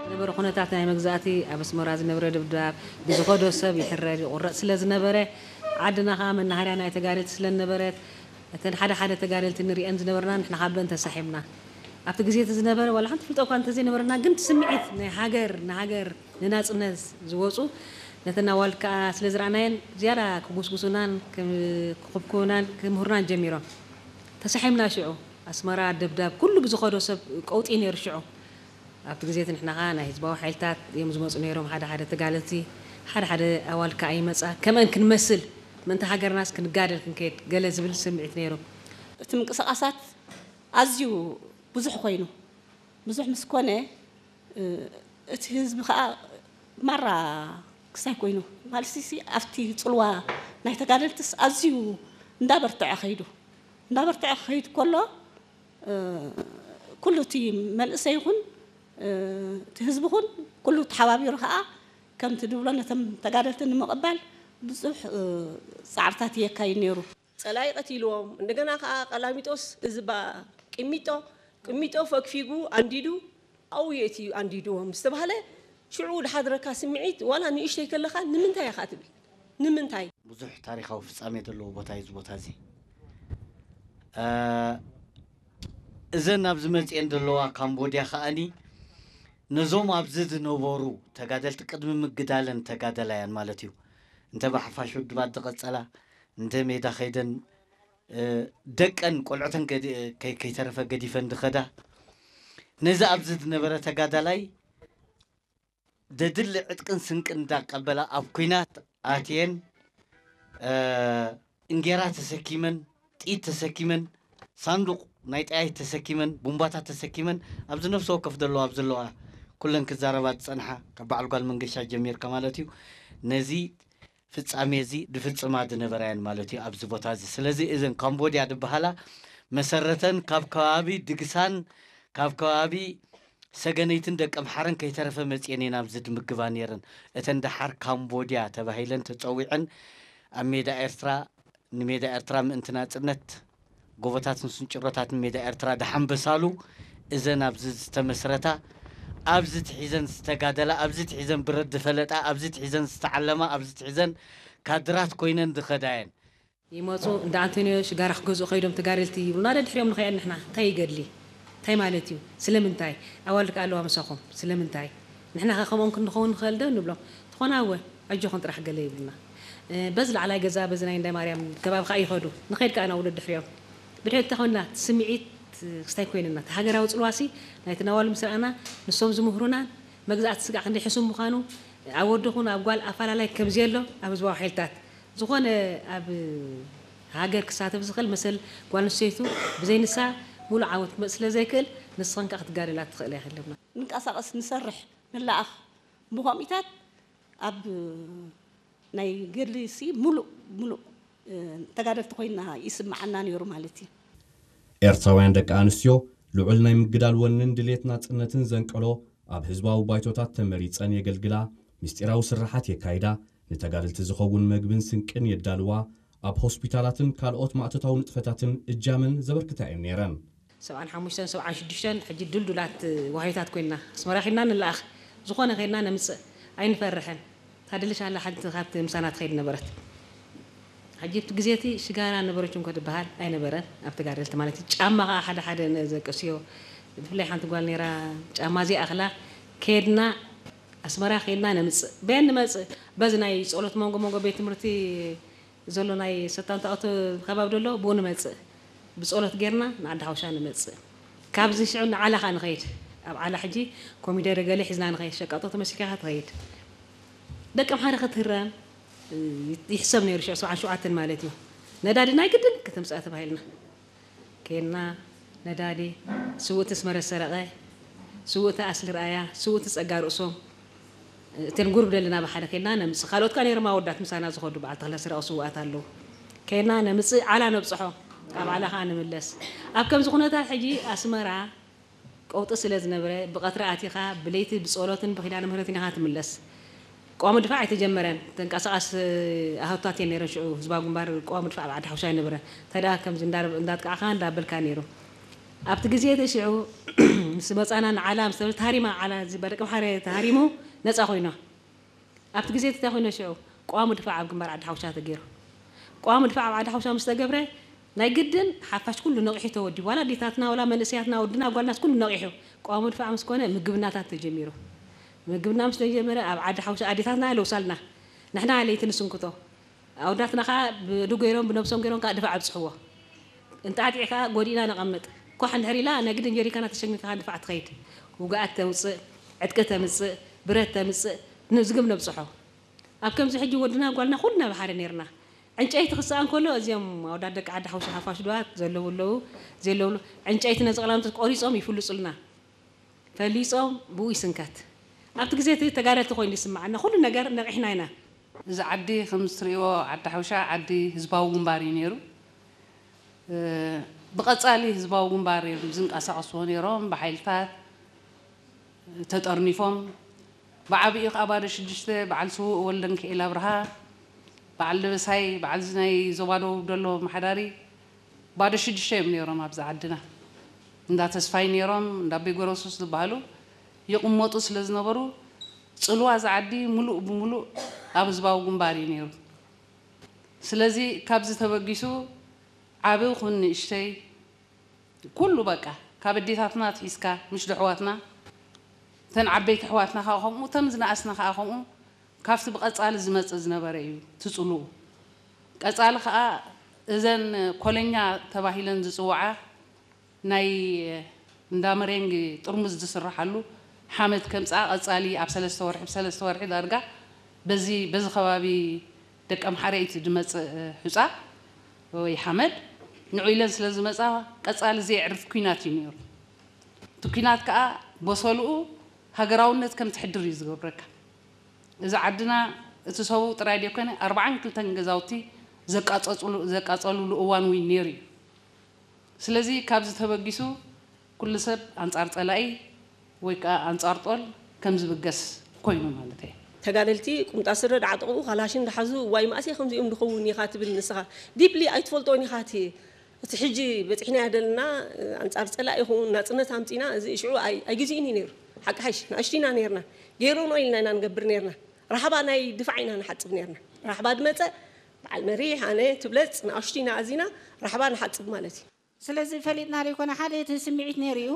ዝነበረ ኩነታት ናይ መግዛእቲ ኣብ ኣስመራ ዝነበረ ድብዳብ ብዝኸዶ ሰብ ይሕረድ ይቑረጽ ስለ ዝነበረ፣ ዓድና ከኣ መናሃርያ ናይ ተጋደልቲ ስለ ዝነበረት፣ እተን ሓደ ሓደ ተጋደልቲ ንርእየን ዝነበርና ንሕና ካብ በን ተሳሒብና። ኣብቲ ግዜ እቲ ዝነበረ ዋላ ሓንቲ ፍልጦ እኳ እንተዘይነበረና፣ ግን እቲ ስምዒት ናይ ሃገር ንሃገር ንናጽነት ዝወጹ ነተን ኣዋልድ ከኣ ስለ ዝረኣናየን ዝያዳ ክጉስጉሱናን ክም- ክኹብኩቡናን ክምህሩናን ጀሚሮም። ተሳሒብና ሽዑ። ኣስመራ ደብዳብ ኩሉ ብዝኸዶ ሰብ ቀውጢ ነይሩ ሽዑ። ኣብቲ ግዜ እቲ ንሕና ኸኣ ናይ ህዝባዊ ሓይልታት እዮም ዝመጹ ነይሮም፣ ሓደ ሓደ ተጋደልቲ፣ ሓደ ሓደ ኣዋልድ ከኣ ይመጻ፣ ከምአን ክንመስል፣ ምእንቲ ሃገርናስ ክንጋደል ክንከይድ፣ ገለ ዝብል ስምዒት ነይሩ። እቲ ምንቅስቓሳት ኣዝዩ ብዙሕ ኮይኑ፣ ብዙሕ ምስ ኮነ፣ እ፣ እቲ ህዝቢ ኸኣ ማራ ክስታይ ኮይኑ፣ ማለት ሲ ኣብቲ ጽልዋ ናይ ተጋደልትስ ኣዝዩ እንዳበርትዐ ኸይዱ፣ እንዳበርትዐ ክኸይድ ከሎ፣ እ፣ ኩሉ እቲ መንእሰይ ይኹን፣ እ፣ እቲ ህዝቢ ይኹን ኩሉ ተሓባቢሩ ኸኣ ከምቲ ድብሎ ነቶም ተጋደልቲ ንምቕባል ብዙሕ፣ እ፣ ጻዕርታት የካይድ ነይሩ። ጸላኢ ቀቲልዎም፣ እንደገና ከኣ ቀላሚጦስ እዚ ባ ቅሚጦ፣ ቅሚጦ ፈግፊጉ ኣንዲዱ ኣብኡ የእትዩ ኣንዲድዎም ዝተባህለ ሽዑ ዝሓድረካ ስምዒት ዋላ ንእሽተይ ከለኻ ንምንታይ ኢኻ ትብል? ንምንታይ? ብዙሕ ታሪኻዊ ፍጻሜ ዘለዎ ቦታ እዩ እዚ ቦታ እዚ። እ፣ እዘን ኣብዚ መጽኤን ዘለዋ ካምቦድያ ከኣኒ ነዞም ኣብዚ ዝነበሩ ተጋደልቲ ቅድሚ ምግዳለን ተጋደላያን ማለት እዩ። እንተ ብሓፋሽ ውድባት ዝቐጸላ፣ እንተ ሜዳ ከይደን፣ እ፣ ደቀን ቆልዑተን ገዲ-፣ ከይ-፣ ከይተረፈ ገዲፈን ዝኸዳ፣ ነዚ ኣብዚ ዝነበረ ተጋዳላይ ዘድሊ ዕጥቅን ስንቅን እንዳቀበላ ኣብ ኲናት ኣትየን፣ እ፣ እንጌራ ተሰኪመን፣ ጥይት ተሰኪመን፣ ሳንዱቕ ናይ ጠያይት ተሰኪመን፣ ቡምባታት ተሰኪመን፣ ኣብዚ ነፍሲ ወከፍ ዘለዋ ኣብ ዘለዋ ኩለን ክዛረባ ዝጸንሓ፣ ካብ በዓል ጓል መንገሻ ጀሚርካ ማለት እዩ። ነዚ ፍጻሜ እዚ ዝፍጽማ ዝነበራ እየን ማለት እዩ ኣብዚ ቦታ እዚ። ስለዚ እዘን ካምቦድያ ዝበሃላ መሰረተን ካብ ከባቢ ድግሳን፣ ካብ ከባቢ ሰገነይትን ደቀምሓረን ከይተረፈ መጽኤን እየን ኣብዚ ዝምግባ ነይረን። እተን ደሓር ካምቦድያ ተባሂለን ተጸዊዐን ኣብ ሜዳ ኤርትራ፣ ንሜዳ ኤርትራ ምእንቲ ናጽነት፣ ጎቦታትን ስንጭሮታትን ሜዳ ኤርትራ ደሓንበሳሉ፣ እዘን ኣብዚ ዝተመስረታ፣ ኣብዚ ትሒዘን ዝተጋደላ፣ ኣብዚ ትሒዘን ብረት ዝፈለጣ፣ ኣብዚ ትሒዘን ዝተዓለማ፣ ኣብዚ ትሒዘን ካድራት ኮይነን ዝኸዳ እየን። ይመጹ፣ እንዳ ኣንቶንዮ ሽጋራ ክገዝኡ ከይዶም ተጋደልቲ ይብሉና፣ ደድሕሪኦም ንኸይድ ንሕና። እንታይ ይገድሊ? እንታይ ማለት እዩ? ስለምንታይ? ኣዋልድ ከ ኣለዋ ምሳኹም። ስለምንታይ? ንሕና ከ ከምኦም ክንኸውን ንኽእል ዶ? ንብሎም። ትኾና እወ፣ ኣጆኹም ጥራሕ ገለ ይብሉና። እ፣ በዚ ላዕላይ ገዛ፣ በዚ ናይ እንዳ ማርያም ከባቢ ከኣ ይኸዱ። ንኸይድ ከኣ ናብ ውሉድ ድሕሪኦም። ብድሕሪት እንታይ ኮይንና? እቲ ስምዒት ክስታይ ኮይንና። እቲ ሃገራዊ ጽልዋሲ ናይቲ ናዋሉ ምስ ረኣና፣ ንሶም ዝምህሩናን መግዛእቲ ስጋዕ ክንደይ ሕሱም ምዃኑ፣ ኣብ ወዲ ኹን ኣብ ጓል ኣፈላላይ ከም ዘየሎ ኣብ ህዝባዊ ሓይልታት ዝኾነ ኣብ ሃገር ክሳተፍ ዝኽእል መሰል ጓል ኣንስተይቱ ብዘይ ንሳ ሙሉእ ዓወት ክመጽእ ስለ ዘይክእል፣ ንስኽን ከኣ ክትጋደላ ትኽእላ ኢኺ ኣለና። ንንቀሳቐስ፣ ንሰርሕ፣ ንለኣኽ። ብኸምኢታት ኣብ ናይ ገድሊ ሲ ሙሉእ፣ ሙሉእ፣ እ፣ ተጋደልቲ ኮይንና ይስምዓና ነይሩ ማለት እዩ። ኤርትራውያን ደቂ ኣንስትዮ ልዑል ናይ ምግዳል ወንን ድሌት ናጽነትን ዘንቀሎ ኣብ ህዝባዊ ባይቶታት ተመሪጸን የገልግላ፣ ምስጢራዊ ስርሓት የካይዳ፣ ንተጋደልቲ ዝኸውን መግብን ስንቅን የዳልዋ፣ ኣብ ሆስፒታላትን ካልኦት ማእቶታዊ ንጥፈታትን እጃመን ዘበርክታ እየን ነይረን። ሰብዓን ሓሙሽተን ሰብዓን ሽዱሽተን ሕጂ ድልዱላት ዋህዮታት ኮይንና ኣስመራ ኺድና ንለኣኽ፣ ዝኾነ ኸይድና ነምጽእ፣ ኣይንፈርሕን። ታደለሽ ኣላ ሓንቲ ካብቲ ምሳና ትኸይድ ነበረት። ሕጂ እቲ ግዜ እቲ ሽጋራ ነበረች እንኮ ትበሃል ኣይነበረን፣ ኣብ ተጋደልቲ ማለት እዩ። ጫማ ኸዓ ሓደ ሓደ ነዘቅስዮ፣ ብፍላይ ሓንቲ ጓል ነይራ፣ ጫማ ዘይኣኽላ ከድና ኣስመራ ከድና ነምጽእ። በየን ንመጽእ? በዚ ናይ ጸሎት መንጎ መንጎ ቤት ትምህርቲ ዘሎ ናይ ሰታንታኦት ከባቢ ደሎ፣ ብኡ ንመጽእ። ብጸሎት ጌርና ንዓዲ ሓውሻ ንመጽእ። ካብዚ ሽዑ ንዓላ ኸኣ ንኸይድ። ኣብ ዓላ ሕጂ ኮሚደረ ገለ ሒዝና ንኸይድ። ሸቃጦ ተመሲልካ ኢኻ ትኸይድ። ደቂ ኣምሓረ ክትህረም፣ እ፣ ይሕሰብ ነይሩ፣ ሽዑ ሰብዓን ሸውዓተን ማለት እዩ። ነዳዲ ናይ ግድን ከተምጽኣ ተባሂልና። ኬንና፣ ነዳዲ፣ ስውእቲ ኣስመረ ሰረቐ፣ ስውእቲ ኣስሊ ርኣያ፣ ስውእቲ ጸጋ ርእሶም፣ እተን ጉርብ ደለና ብሓደ ኬንና ነምጽእ። ካልኦት ከኣ ነይሮም ኣወዳት ምሳና ዝኸዱ፣ በዓል ተኽለ ሰረቐ ስውኣት ኣለዉ። ኬንና ነምጽእ፣ ዓላ ነብጽሖ፣ ኣብ ዓላ ከኣ ንምለስ። ኣብ ከምዚ ኩነታት ሕጂ ኣስመራ ቀውጢ ስለ ዝነበረ፣ ብቐትሪ ኣቲኻ፣ ብለይቲ ብጸሎትን ብኪዳነ ምህረትን ኢኻ ትምለስ። ቅዋም ድፋዕ ኣይተጀመረን። ተንቀሳቓስ ኣሃታት እየን ነይረን ሽዑ። ህዝባዊ ግንባር ቅዋም ድፋዕ ኣብ ዓዲ ሓውሻ ኣይነበረን። እንታይ ደኣ ከምዚ እንዳ-፣ እንዳጥቃዕካ እንዳበልካ ነይሩ። ኣብቲ ግዜ እቲ ሽዑ ምስ መጻና ንዓላ ምስ ተሃሪማ ዓላ ዝበረቀ ሓረ ተሃሪሙ ነጻ ኮይና። ኣብቲ ግዜ እቲ እንታይ ኮይነ ሽዑ? ቀዋሙ ድፋዕ ኣብ ግንባር ዓዲ ሓውሻ ተገይሩ። ቀዋሙ ድፋዕ ኣብ ዓዲ ሓውሻ ምስ ተገብረ ናይ ግድን ሓፋሽ ኩሉ ነቂሑ ተወዲቡ። ዋላ ኣዴታትና ዋላ መንእሰያትና ወድና ጓልናስ ኩሉ ነቂሑ። ቀዋሙ ድፋዕ ምስ ኮነ ምግብናታት ተጀሚሩ። ምግብና ምስ ተጀመረ ኣብ ዓዲ ሓውሻ ኣዴታትና ለውሳልና ንሕና ለይቲ ንስንክቶ ኣውዳትና ከዓ ብዱ ገይሮም ብነብሶም ገይሮም ከዓ ድፋዕ ኣብፅሕዎ። እንጣጢዕ ከዓ ጎዲእና ነቐምጥ። ኮሕ እንድሕር ኢላ ናይ ግድን ጀሪካና ተሸሚካ ንፋዕ ትኸይድ። ውግኣት ተውፅእ፣ ዕጥቂ ተምፅእ፣ ብረት ተምፅእ፣ ንዝግብ ነብፅሖ። ኣብ ከምዚ ሕጂ ወድና ጓልና ኩልና ብሓደ ነርና። ዕንጨይቲ ክስኣ እንከሎ እዚኦም ኣውዳት ደቂ ዓዲ ሓውሻ ሓፋሽ ድዋት ዘለዉ ኣለዉ፣ ዘለብሉ ዕንጨይቲ ነዚ ቀላምቶት ቆሪፆም ይፍልፁልና። ፈሊፆም ብኡ ይስንከት። ኣብቲ ግዜ እቲ ተጋደልቲ ኮይኑ ይስምዓና ኩሉ ነገር ነቒሕና ኢና። እዚ ዓዲ ከም እትሪእዎ ዓዲ ሓውሻ ዓዲ ህዝባዊ ግንባር እዩ ነይሩ። ብቐጻሊ ህዝባዊ ግንባር እዮም ዝንቀሳቐስዎ ነይሮም ብሓይልታት ተጠርኒፎም። ብዓብኡ ከዓ ባዶ ሽዱሽተ በዓል ስዉእ ወልደንክኤል ኣብርሃ፣ በዓል ደበሳይ፣ በዓል እዚ ናይ ዞባ ደቡብ ደሎ መሓዳሪ ባዶ ሽዱሽተ እዮም ነይሮም ኣብዚ ዓድና። እንዳ ተስፋይ ነይሮም፣ እንዳ ቤጎረሱስ ዝበሃሉ ይቕመጡ ስለ ዝነበሩ ፅልዋ እዚ ዓዲ ሙሉእ ብሙሉእ ኣብ ህዝባዊ ግንባር እዩ ነይሩ። ስለዚ ካብዚ ተበጊሱ ዓቢ ኩን ንእሽተይ ኩሉ በቃ ካብ ኣዴታትና ኣትሒዝካ ምሽ ድሕዋትና እተን ዓበይቲ ኣሕዋትና ከዓ ከምኡ እተን ዝነኣስና ከዓ ከምኡ ካብቲ ብቐፃሊ ዝመፅእ ዝነበረ እዩ ትፅልኡ። ቀፃሊ ከዓ እዘን ኮለኛ ተባሂለን ዝፅውዓ ናይ እንዳ መሬንግ ጥርሙዝ ዝስርሓሉ ሓመድ ከምፅኣ ቀፃሊ ኣብ ሰለስተ ወርሒ ብሰለስተ ወርሒ ዳርጋ በዚ በዚ ከባቢ ደቂ ኣምሓረ እዩ ዝመፅእ ሑፃ ወይ ሓመድ ንዑ ኢለን ስለ ዝመፃ ቀፃሊ ዘየዕርፍ ኲናት እዩ ነይሩ። እቲ ኲናት ከዓ በሰልኡ ሃገራውነት ከም ትሕድር እዩ ዝገብረካ። እዚ ዓድና እቲ ሰቡ ጥራይ ደይኮነ ኣርባዓን ክልተን ገዛውቲ ዘቃፀፅሉ- ዘቃፀልሉ እዋን እውን ነይሩ እዩ። ስለዚ ካብዚ ተበጊሱ ኩሉ ሰብ ኣንጻር ጸላኢ ወይ ከዓ ኣንጻር ጦል ከም ዝብገስ ኮይኑ ማለት እየ። ተጋደልቲ ቁምጣ ስረ ድዓጠቑ ካላሽን ድሓዙ ዋይ ማእሰይ ከምዚኦም ድኸውን ኢኻ ትብል ንስኻ ዲፕሊ ኣይትፈልጦን ኢኻ እቲ እቲ ሕጂ በፂሕናዮ ዘለና ኣንጻር ጸላኢ ይኸውን ናጽነት ኣምጺና እዚ ሽዑ ኣይ- ኣይግዜኡን እዩ ነይሩ ሓቂ ሓይሽ ንኣሽቱ ኢና ነርና ገይሮኖ ኢልና ኢና ንገብር ነርና ራሕባ ናይ ድፋዕ ኢና ንሓጽብ ነርና ራሕባ ድመጸ በዓል መሪሕ ኣነ ትብለጽ ንኣሽቱ ኢና ኣዚና ራሕባ ንሓጽብ ማለት እዩ ስለዚ ፈሊጥና ዘይኮነ ሓደ እቲ ስምዒት ነይሩ እዩ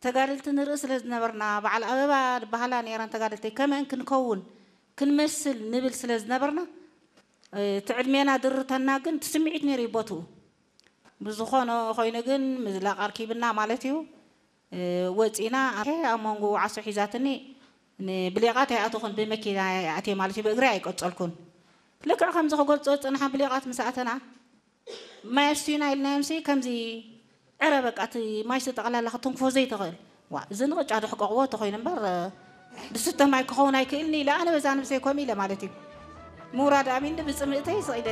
ተጋደልቲ ንርኢ ስለ ዝነበርና በዓል ኣበባ ዝበሃላ ነይረን ተጋደልተይ ከመን ክንከውን ክንመስል ንብል ስለ ዝነበርና እቲ ዕድሜና ድርተና ግን እቲ ስምዒት ነይሩ እዩ ቦትኡ ብዝኾነ ኮይኑ ግን ምዝላቕ ኣርኪብና ማለት እዩ ወፂና ኣብ መንጎ ዓሶ ሒዛትኒ ብሌቓት ኣይኣተኹን ብመኪና ኣትየ ማለት እዩ ብእግሪ ኣይቀፀልኩን ልክዕ ከምዚ ክገልፆ ዝፅንሓ ብሌቓት ምስ ኣተና ማይ ኣስትዩና ኢልናዮምሲ ከምዚ ዕረ በቃ እቲ ማይ ጠቕላላ ክትንክፎ ዘይትኽእል ዋ እዚ ንቕጫ ደሕቀቕዎ ተኾይኑ እምበር ድስተ ማይ ክኸውን ኣይክእልን ኢለ ኣነ በዛ ነብሰይ ኮም ኢለ ማለት እዩ ምውራድ ኣሚንኒ ብፅምእተይ ስቕ ኢለ